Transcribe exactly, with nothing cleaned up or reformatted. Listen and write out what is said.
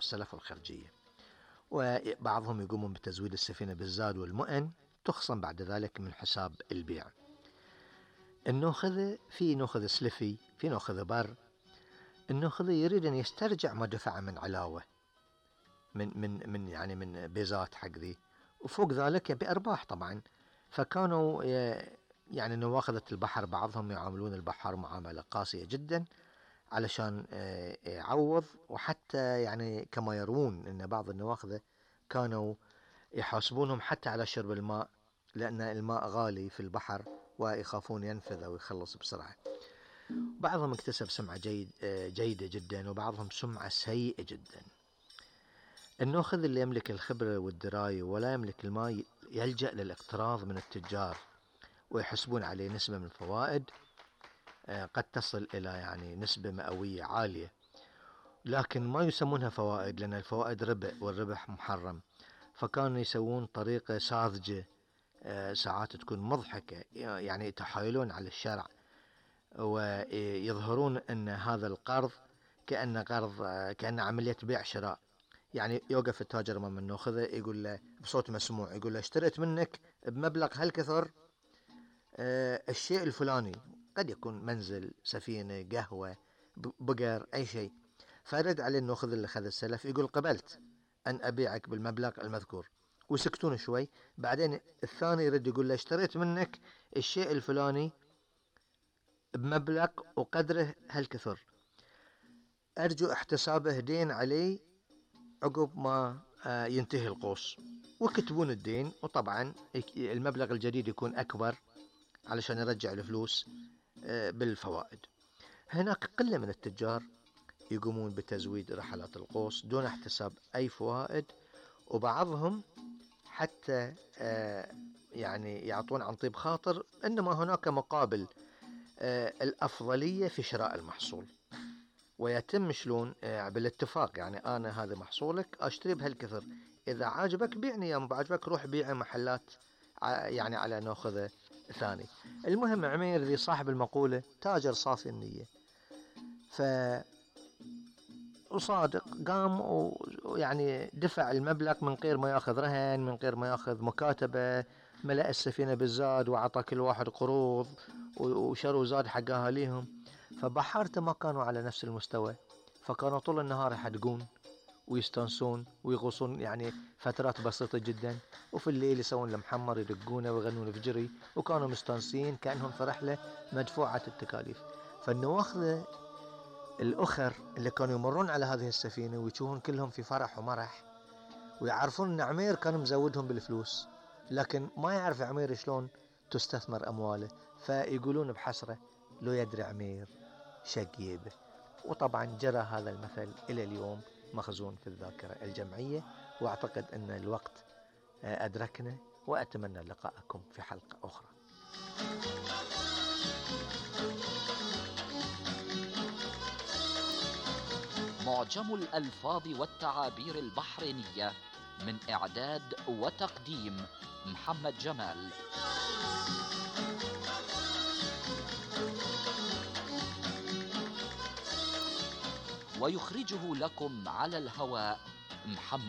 والسلف والخرجية. وبعضهم يقومون بتزويد السفينة بالزاد والمؤن، تخصم بعد ذلك من حساب البيع. النوخذة، في نوخذ سلفي، في نوخذ بر. النوخذة يريد أن يسترجع ما دفع من علاوة، من من من يعني من بيزات حق ذي، وفوق ذلك بأرباح طبعا. فكانوا يعني نواخذة البحر بعضهم يعاملون البحر معاملة قاسية جدا علشان يعوض، وحتى يعني كما يروون أن بعض النواخذة كانوا يحاسبونهم حتى على شرب الماء، لأن الماء غالي في البحر ويخافون ينفذ أو يخلص بسرعة. بعضهم اكتسب سمعة جيد جيدة جدا، وبعضهم سمعة سيئة جدا. النوخذ اللي يملك الخبرة والدراية ولا يملك الماء يلجأ للاقتراض من التجار، ويحسبون عليه نسبة من الفوائد قد تصل إلى يعني نسبة مئوية عالية، لكن ما يسمونها فوائد لأن الفوائد ربح، والربح محرم. فكانوا يسوون طريقة ساذجة ساعات تكون مضحكة، يعني يتحايلون على الشرع ويظهرون أن هذا القرض كأن قرض، كأن عملية بيع شراء. يعني يوقف التاجر امام النوخذة يقول له بصوت مسموع، يقول له اشتريت منك بمبلغ هالكثر آه الشيء الفلاني، قد يكون منزل، سفينة، قهوة، بقر، أي شيء. فرد عليه النوخذ اللي خذ السلف يقول قبلت أن أبيعك بالمبلغ المذكور، ويسكتون شوي. بعدين الثاني يرد يقول له اشتريت منك الشيء الفلاني بمبلغ وقدره هالكثر، أرجو احتسابه دين علي عقب ما ينتهي القوس. وكتبون الدين، وطبعا المبلغ الجديد يكون أكبر علشان يرجع الفلوس بالفوائد. هناك قلة من التجار يقومون بتزويد رحلات القوس دون احتساب أي فوائد، وبعضهم حتى يعني يعطون عن طيب خاطر، إنما هناك مقابل الأفضلية في شراء المحصول، ويتم شلون بالاتفاق. يعني أنا هذا محصولك أشتري بهالكثر، إذا عاجبك بيعني، يا ما عاجبك روح بيع محلات يعني على نوخذة ثاني. المهم عمير ذي صاحب المقولة تاجر صافي النية، ف وصادق، قام ويعني دفع المبلغ من غير ما ياخذ رهن، من غير ما ياخذ مكاتبة، ملأ السفينة بالزاد وعطى كل واحد قروض وشروا زاد حق أهاليهم. فبحارته ما كانوا على نفس المستوى، فكانوا طول النهار يحدقون ويستانسون ويغوصون يعني فترات بسيطة جدا، وفي الليل يسوون المحمر يدقونه ويغنون في جري، وكانوا مستانسين كأنهم في رحلة مدفوعة التكاليف. فالنواخذة الأخر اللي كانوا يمرون على هذه السفينة ويشوفون كلهم في فرح ومرح، ويعرفون أن عمير كان مزودهم بالفلوس، لكن ما يعرف عمير شلون تستثمر أمواله، فيقولون بحسرة لو يدري عمير شقيبه. وطبعا جرى هذا المثل إلى اليوم مخزون في الذاكرة الجمعية، وأعتقد أن الوقت أدركنا، وأتمنى لقاءكم في حلقة أخرى. معجم الألفاظ والتعابير البحرينية، من إعداد وتقديم محمد جمال. ويخرجه لكم على الهواء محمد